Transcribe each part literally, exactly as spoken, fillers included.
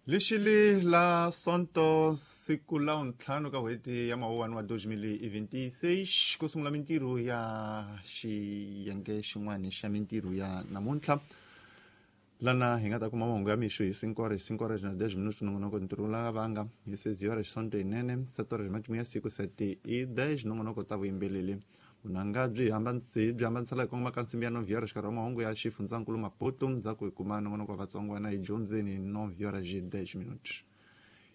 Lixili la Sonto siku la ntlhanu ka n'hweti ya Mawuwani wa deux mille vingt-six ku sungula mintirho ya xiyenge xin'wana xa mintirho ya namuntlha lana hi nga ta kuma mahungu ya mixo hi cinco horas cinco horas na dez minutos nongonoko ntirho la vanga hi seize horas Sonto yinene sete horas matimu ya siku sete e dez nongonoko ta vuyimbeleri vunanga byi byi hambanisela hi kongoma ka nsimbi ya nove horas xikarhi wa mahungu ya xifundzankulu Maputo ndzhaku hi kuma nongonoko wa vatsongwana hi dyondzeni nove horas hi dez minutos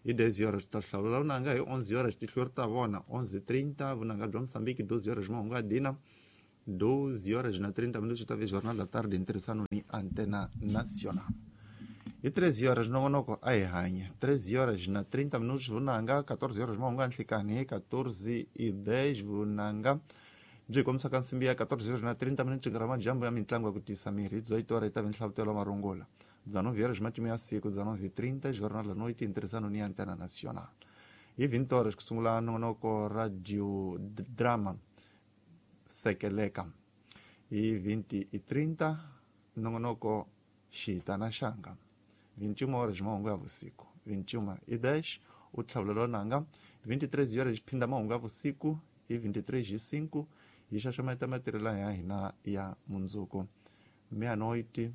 hi dez horas ta hlawula vunanga hi onze horas tihlori ta vona onze trinta vunanga bya Mozambique doze horas mahungu ya dina doze horas na trinta minutos ta ve Jornal da Tarde em ntirhisano ni Antena Nacional hi treze horas nongonoko a hi hanya treze horas na trinta minutos vunanga quatorze horas mahungu ya nhlikani hi quatorze e dez vunanga byi kombisa ka nsimbi ya quatorze horas na trinta minutos nkarhi wa madyambu ya mitlangu ya ku tisa mirhi dezoito horas yi ta ve nhlavutelo wa marungula dezenove horas matimu ya siku dezenove e trinta Jornal da Noite em ntirhisano ni Antena Nacional hi vinte horas ku sungula nongonoko radio drama Sekeleka hi vinte e trinta nongonoko Xitana Xanga vinte e uma horas mahungu ya vusiku vinte e uma e dez o tlhavulelo nanga vinte e três horas phinda mahungu ya vusiku hi vinte e três e cinco hi xaxameta matirhelo ya hina ya mundzuku meia-noite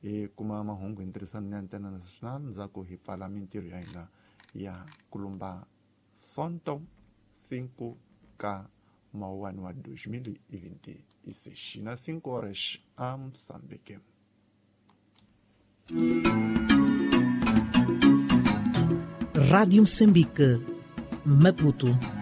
hi kuma mahungu hi ntirhisano ni Antena Nacional ndzhaku hi pfala mintirho ya hina ya kulumba Sonto cinco ka Mawuwani wa dois mil e vinte e seis na cinco horas a Moçambique. Rádio Moçambique, Maputo.